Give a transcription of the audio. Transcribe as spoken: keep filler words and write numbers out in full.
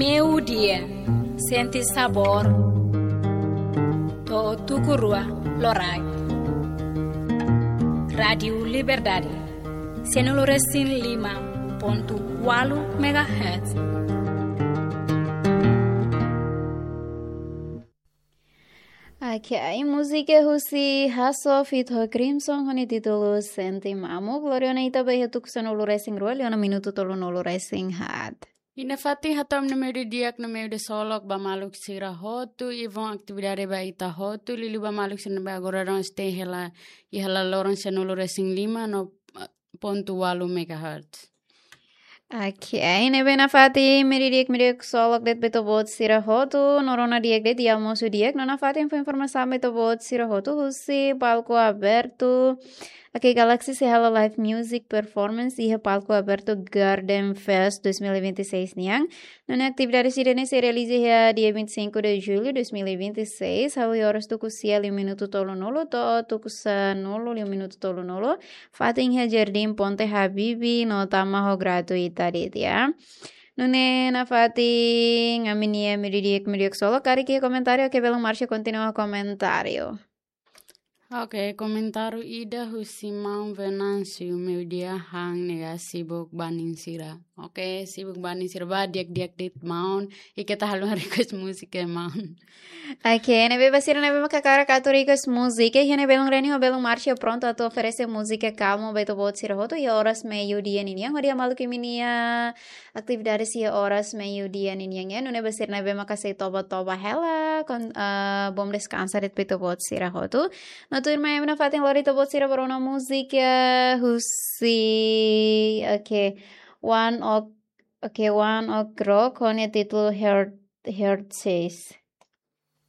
Meiudia, sente sabór to'o tuku rua loraik. Rádiu Liberdade, sanulu-resin-lima pontu ualu megahertz. Oke, ai múzika husi Hasso feat ho Crimson ho nia títulu Sente Mamuk. Lori ona ita ba iha tuku sanulu-resin-rua, liu ona minutu tolunulu-resin-haat. I nafatin hato'o ami númeru di'ak, númeru de solok ba maluk sira hotu, i vão atividade ba ita hotu, liuliu ba maluk sira ne'ebé agora daudaun sei hela, iha laloran sanulu-resin-lima no, eh, pontu ualu megahertz. Oke, ne'ebé nafatin, meri di'ak, meri di'ak solok de'it ba ita-boot sira hotu, no rona di'ak de'it, i almosu di'ak, no nafatin fó informasaun ba ita-boot sira hotu, husi palku abertu, oke, Galaxy sei halo live music performance iha palku abertu Garden Fest dois mil e vinte e seis nian. Nune'e atividade sira-ne'e sei realiza iha dia vinte e cinco de julho dois mil e vinte e seis, hahú iha oras tuku sia liu minutu tolunulu to'o tuku sanulu liu minutu tolunulu, fatin iha Jardim Ponte Habibie, no tama ho gratuita de'it, ya. Nune'e nafatin, ami-nia meri di'ak, meri di'ak solok, karik iha komentáriu, oke, belun Marcia kontinua komentáriu. Oke, komentáriu ida husi maun Venâncio, meiudia han nega sibuk ba nia sira. Oke, sibuk ba nia sira, ba di'ak-di'ak de'it maun, i keta haluha request múzika maun. Oke, ne'ebé ba sira ne'ebé maka hakarak atu request múzika, iha ne'e belun Reni ho belun Marcia prontu atu oferese múzika kalmu ba ita-boot sira hotu, iha oras meiudia ninian, hodi hamaluk imi-nia atividade iha oras meiudia ninian, ya. Nune'e ba sira ne'ebé maka sei toba-toba hela, kon, ah, bom descanso de'it ba ita-boot sira hotu. No tuirmai ami nafatin lori ita-boot sira ba rona múzika husi, oke, One Ok, oke, One Ok Rock, ho nia títulu Heart, Heart Says.